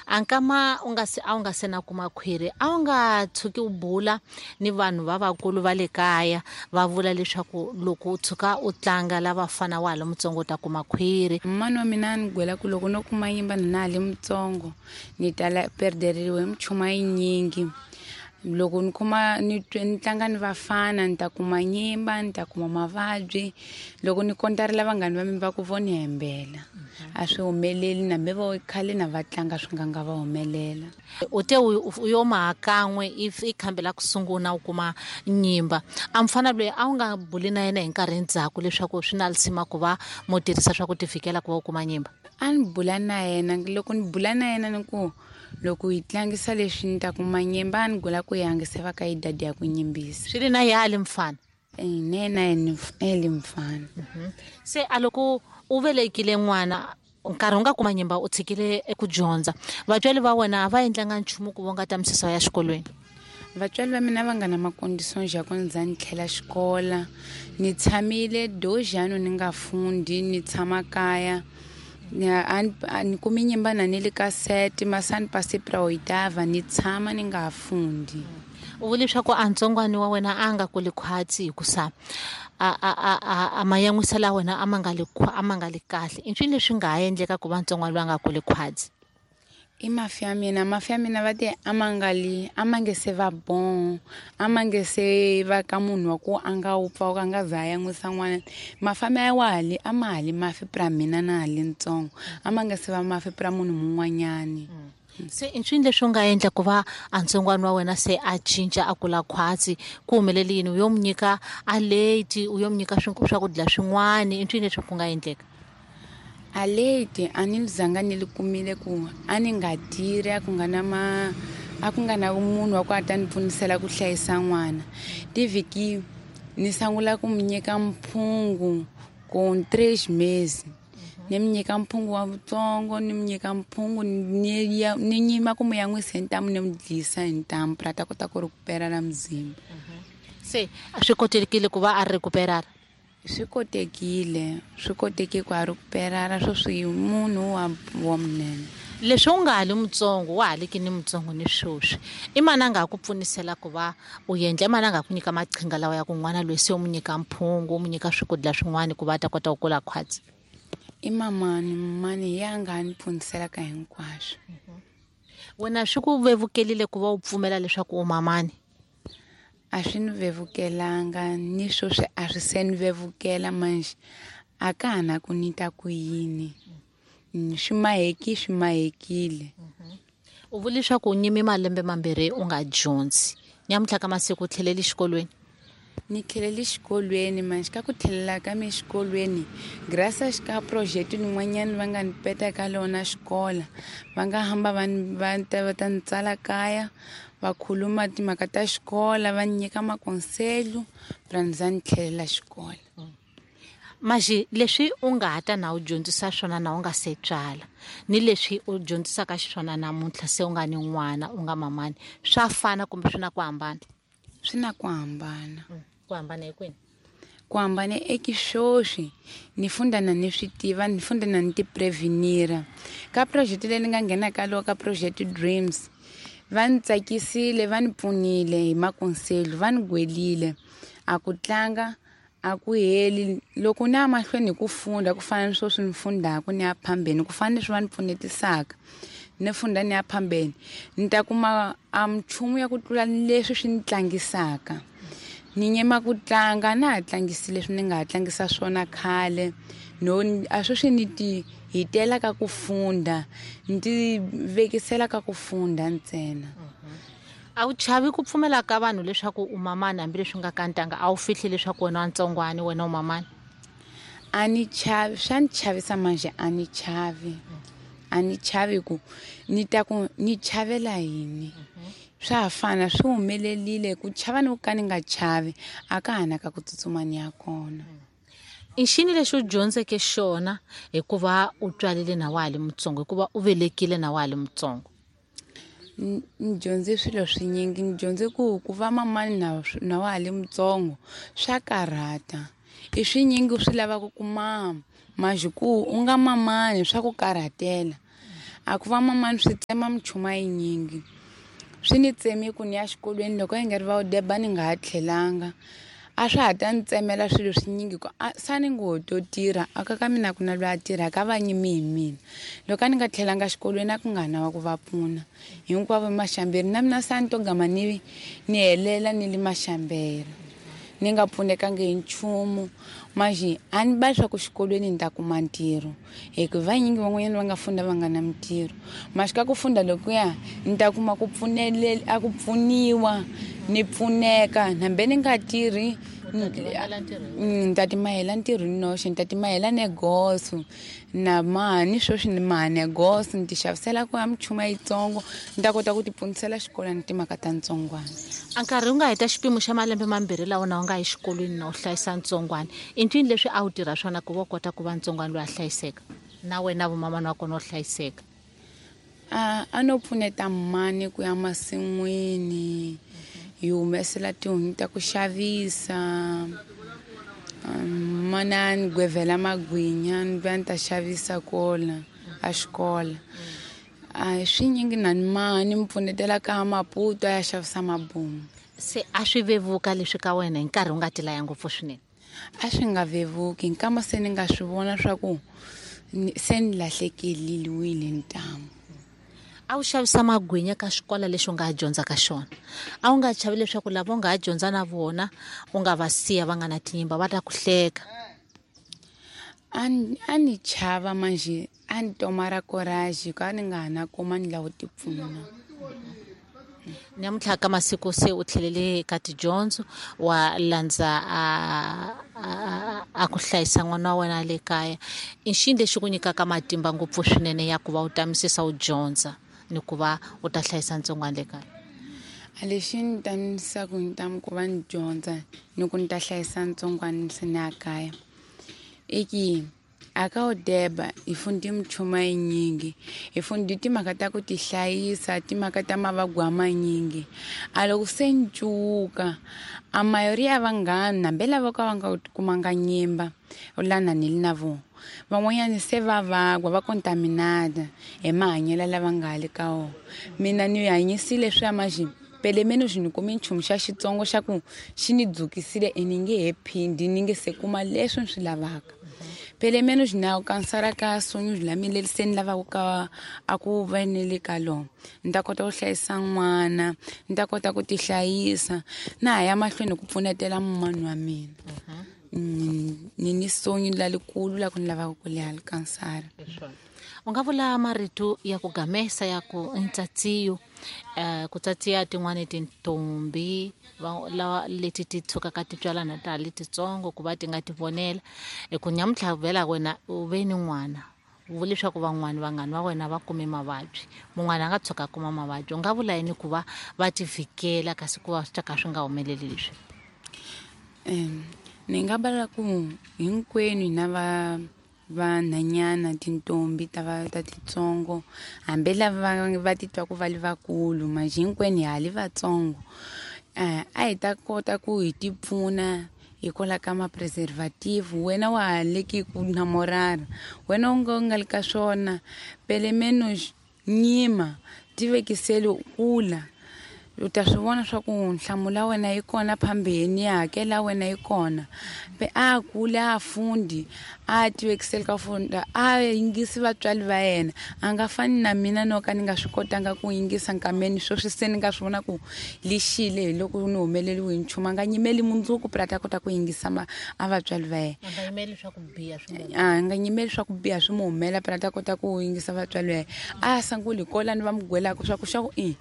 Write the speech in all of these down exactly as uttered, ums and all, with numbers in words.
Ankama u nga se a wu nga se na kuma khwiri, a wu nga tshuki u bula ni vanhu va vakulu va le kaya va vula leswaku loko u tshuka u tlanga lava fana wa ha li mutsongo u ta kuma khwiri? Mani wa mina a ni gwela ku loko no kuma nyimba na ha li mutsongo ni ta perderiwa hi minchumu yinyingi. Loko ni kuma ni ni tlanga ni vafana ni ta kuma nyimba, ni ta kuma mavabyi. Loko ni kontarela vanghani va mina va ku vo ni hembela, a swi humeleli na me vo khale na va tlanga swi nga nga va humelela. U te u yo maha kan'we i khambi la ku sungula u kuma nyimba, a mufana loyi a wu nga buli na yena hi nkarhi ndzhaku leswaku swi na lisima ku va mo tirhisa swa ku tivikela ku va u kuma nyimba? A ni bula na yena, loko ni bula na yena ni ku loko hi tlangisa leswi ni ta kuma nyimba, a ni gula ku yangise va ka idadi ya ku nyimbisa. Swi ri na ya li mfana? E ne na yena e li mfana. Se a loko u velekile n'wana nkarhi u nga kuma nyimba u tshikile eku dyondza, vatswari va wena a va endlanga nchumu ku vonga ta misisa ya xikolweni? Vatswari va mina va nga na makondiso ya ku ndza ni tlhela xikola, ni tshamile dojano ni nga fundi, ni tshama kaya. Ni kumi nyimba na ni le ka sete masani pasi pra oitava ni tshama ni nga fundi. U vula leswaku a ntsongwani wa wena a nga kuli khwatsi hikusa a a a a mayan'wisela wena a ma nga li a ma nga li kahle. I ncini leswi nga ha endleka ku va ntsongwani loyi a nga kuli khwatsi? I mafi ya mina, mafi ya mina va te a ma nga li a ma nge se va bon, a ma nge se va ka munhu wa ku a nga wupfa a nga za a yan'wisa n'wana. Mafi ya wa ha li a ma ha li mafi pra mina na ha li ntsongo, a ma nge se va mafi pra munhu mun'wanyani. Se i ncini leswi u nga endla ku va a ntsongwana wa wena se a cinca a kula khwatsi? Ku humelele yini? U yo mu nyika a late, u yo mu nyika swakudya swin'wana, i ncini leswi ku nga endleka? A late a ni zanga ni li kumile ku a ni nga tirhi, a ku nga na ma a ku nga na munhu wa ku a ta ni pfunisela ku hlayisa n'wana. Tivhiki ni sungula ku mu nyika mphungu ku três meses, ni mu nyika mphungu wa vutsongo, ni mu nyika mphungu ni ya ni nyima ku mu yan'wisa hi ntamu, ni mu dlisa hi ntamu pra ta kota ku rekuperara muzimba. Se a swi kotekile ku va a rekuperara? Swi kotekile, swi koteke ku a rekuperara sweswi munhu wa wa munene. Leswi u nga ha li mutsongo, wa ha liki ni mutsongo ni sweswi, i mani a nga ha ku pfunisela ku va u endla? I mani a nga ha ku nyika maqhinga lawa ya ku n'wana loyi se u mu nyika mphungu, u mu nyika swakudya swin'wana ku va a ta kota ku kula khwatsi? I mamani, mamani ya nga ni pfuniselaka hinkwaswo. Wena swi ku vevukelile ku va u pfumela leswaku u mamani? A swi ni vevukelanga, ni sweswi a swi se ni vevukela manjhe a ka ha na ku ni ta ku yini, swi maheki swi mahekile. U vula leswaku u nyime malembe mambirhi u nga dyondzi, nyamuntlha ka masiku u tlhelele xikolweni? Ni tlhelele xikolweni manjhe ka ku tlhelela ka me xikolweni graças ka project lin'wanyana va nga ni peta ka lona xikola, va nga hamba va va ta va ta ni tsala kaya, va khuluma timhaka ta xikola, va ni nyika makonselo pra ni za ni tlhelela xikola. Maxi leswi u nga ha ta na u dyondzisa swona na u nga se tswala ni leswi u dyondzisaka xiswona namuntlha se u nga ni n'wana u nga mamani, swa fana kumbe swi na ku hambana? Swi na ku hambana. Ku hambana hi kwini? Ku hambana eki sweswi ni funda na ni swi tiva, ni funda na ni ti prevenira. Ka project leyi ni nga nghena ka loko ka Project Dreams va ni tsakisile, va ni pfunile hi makonselo, va ni gwelile. A ku tlanga a ku heli, loko ni ya mahlweni hi ku funda ku fana ni sweswi ni fundaka ni ya phambeni, ku fana ni leswi va ni pfunetisaka ni funda ni ya phambeni, ni ta kuma a minchumu ya ku tlula leswi swi ni tlangisaka. Ni nyima ku tlanga na ha tlangisi leswi ni nga ha tlangisa swona khale, no a sweswi ni ti hitela ka ku funda, ni ti vekisela ka ku funda ntsena. A wu chavi ku pfumela ka vanhu leswaku u mamani hambileswi nga ka ntanga? A wu fihli leswaku wena wa ntsongwani, wena u mamani? A ni chavi, swa ni chavisa manjhe a ni chavi. A ni chavi ku ni ta ku ni chavela yini? Swa ha fana, swi humelelile ku chava ni ku ka ni nga chavi a ka ha na ka ku tsutsuma ni ya kona. I xini lexi u dyondzeke xona hikuva u tswalile na wa ha li mutsongo, hikuva u velekile na wa ha li mutsongo? Ni dyondze swilo swinyingi, ni dyondze ku ku va mamani na na wa ha li mutsongo swa karhata. I swinyingi swi lavaka ku mama, manjhe ku u nga mamani swa ku karhatela. A ku va mamani swi tsema minchumu yinyingi. Swi ni tsemi ku ni ya xikolweni loko yi nga ri va u deba ni nga ha tlhelanga. A swa ha ta ni tsemela swilo swinyingi ku sa ni ngo to tirha a ka ka mina ku na loyi a tirhaka va nyimi hi mina. Loko a ni nga tlhelanga xikolweni a ku nga na wa ku va pfuna hinkwavo maxamberi na mina sa ni to gama ni ni helela ni li maxamberi ni nga pfunekangi hi nchumu. Manjhe a ni ba swa ku xikolweni ni ta kuma ntirho hi ku vanyingi van'wanyana va nga funda va nga na mintirho. Maxi ka ku funda lokuya ni ta kuma ku pfunelela a ku pfuniwa ni pfuneka hambi ni nga tirhi ni ta timahela ntirho ni noxe ni ta timahela negoso na mani sweswi ni maha negoso ni ti xavisela ku ya minchumu yitsongo ni ta kota ku ti pfunisela xikolweni timhaka ta ntsongwana. A nkarhi wu nga heta xipimo xa malembe mambirhi lawa na u nga yi xikolweni na u hlayisa ntsongwana i ncini leswi a wu tirha swona ku va u kota ku va ntsongwana loyi a hlayiseka na wena vumamana wa kona u hlayiseka? A a no pfuneta mani ku ya masin'wini hi humesela tihunyi ta ku xavisa mana ni gwevhela magwinya ni vuya ni ta xavisa kola a xikola. A swinyingi na ni maha ni mi pfunetela ka Maputo a ya xavisa mabomu. Se a swi vevuka leswi ka wena hi nkarhi wu nga ti laya ngopfu swinene? A swi nga vevuki nkama se ni nga swi vona swa ku se ni lahlekeliwile ntamu. A wu xavisa magwinya ka xikolo lexi u nga ha dyondza ka xona a wu nga chavi leswaku lava u nga ha dyondza na vona u nga va siya va nga na tinyimba va ta ku hleka? A ni a ni chava manjhe a ni tomara courage ka ni nga ha na kuma ni lava ku ti pfuna. Namuntlha ka masiku se u tlhelele ka tidyondzo wa landza a a ku hlayisa n'wana wa wena le kaya i xini lexi ku nyikaka matimba ngopfu swinene ya ku va u tamisisa u dyondza ni ku va u ta hlayisa ntsongwana le kaya? A lexi ni tamisaku ntamu ku va ni dyondza ni ku ni ta hlayisa ntsongwana se ni ya kaya i ki a ka u deba hi fundi minchumu yinyingi hi fundi timhaka ta ku ti hlayisa timhaka ta mavabyi a manyingi. A loko se ni cuka a mayori ya vanghana hambi lava ka va nga kumanga nyimba lana ni li na vona van'wanyana se va vagwa va contaminada hi mahanyelo lava nga ha le ka wona. Mina ni hanyisile swa manjhe pelemeni xi ni kume nchumu xa xitsongo xa ku xi ni dzukisile e ni nge he phindi ni nge se kuma leswi ni swi lavaka. Pelemeni xi na kansara ka sonyo la mina leri se ni lavaka ka a ku va ni le ka lona ni ta kota ku hlayisa n'wana ni ta kota ku ti hlayisa na ha ya mahlweni ku pfunetela mumani wa mina. Ni ni sonyo la likulu la ku ni lavaka ku leha kansara. U nga vula marito ya ku gamesa ya ku ntsatsiyo um ku tsatsiya tin'wani tintombi lawa leti ti tshukaka ti tswalana ta ha li titsongo ku va ti nga ti vonela hi ku nyamuntlha vhela wena u ve ni n'wana u vula leswaku van'wani vanghani va wena va kume mavabyi mun'wana a nga tshuka a kuma mavabyi u nga vula yini ku va va ti vhikela kasi ku va swi ta ka swi nga humeleli leswi? Um ni nga vula ku hinkwenu hina va vanhanyana tintombi ta va ta titsongo hambi lava va titwaku va li vakulu manjhe hinkwenu hi ha li vatsongo a hi ta kota ku hi ti pfuna hikwalaho ka ma-preservative. Wena wa ha leki ku namorara wena u nga u nga li ka swona pelemeno nyima ti vekiseli kula u ta swi vona swa ku nhlamulo ya wena yi kona phambeni ya hakela wena yi kona. Pe a kule a fundi a ti vekiseli ka funda a yingisi vatswari va yena a nga fani na mina no ka ni nga swi kotanga ku yingisa nkameni sweswi se ni nga swi vona ku lixile hi loko ni humeleliwe hi nchumu a nga nyimeli mundzuku phela ta kota ku yingisa ma a vatswari va yena. A nga nyimeli swa ku biha swi mu a nga nyimeli swa ku biha swi mu humela phela ta kota ku yingisa vatswari va yena. A sunguli hi ni va mu gwelaka swa ku xa ku i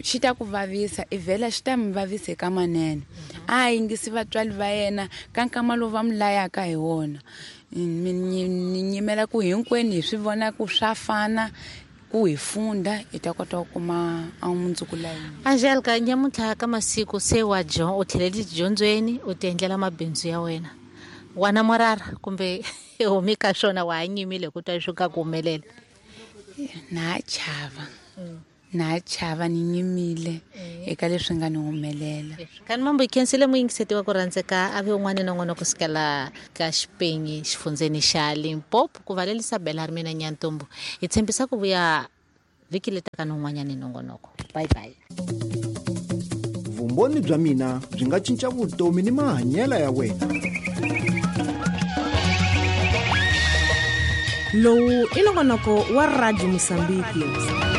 xi ta ku vavisa i vhela xi ta mi vavisa eka manene. A yingisi vatswari va yena ka nkama lowu va mi layaka hi wona. Ni nyimela ku hinkwenu hi swi vona ku swa fana ku hi funda hi ta kota ku kuma a mundzuku la hina. Angelica nyamuntlha ka masiku se wa u tlhelele tidyondzweni u ti endlela mabindzu ya wena wa namorara kumbe humi ka swona wa ha nyimile ku twa swi ka ku humelela? Na ha chava Na chava ni nyimile eka leswi nga ni humelela. Kani mambo hi khensile muyingiseti wa ku rhandzeka a ve un'wana na un'wana kusukela ka Xipenyi xifundzeni xa Limpopo ku valelisa Bela ri mina Nyantombo. Hi tshembisa ku vuya vhiki letaka ni un'wanyana nongonoko. Bye bye. Vumbhoni bya mina byi nga cinca vutomi ni mahanyelo ya wena. Lowu i nongonoko wa Radio Mozambique.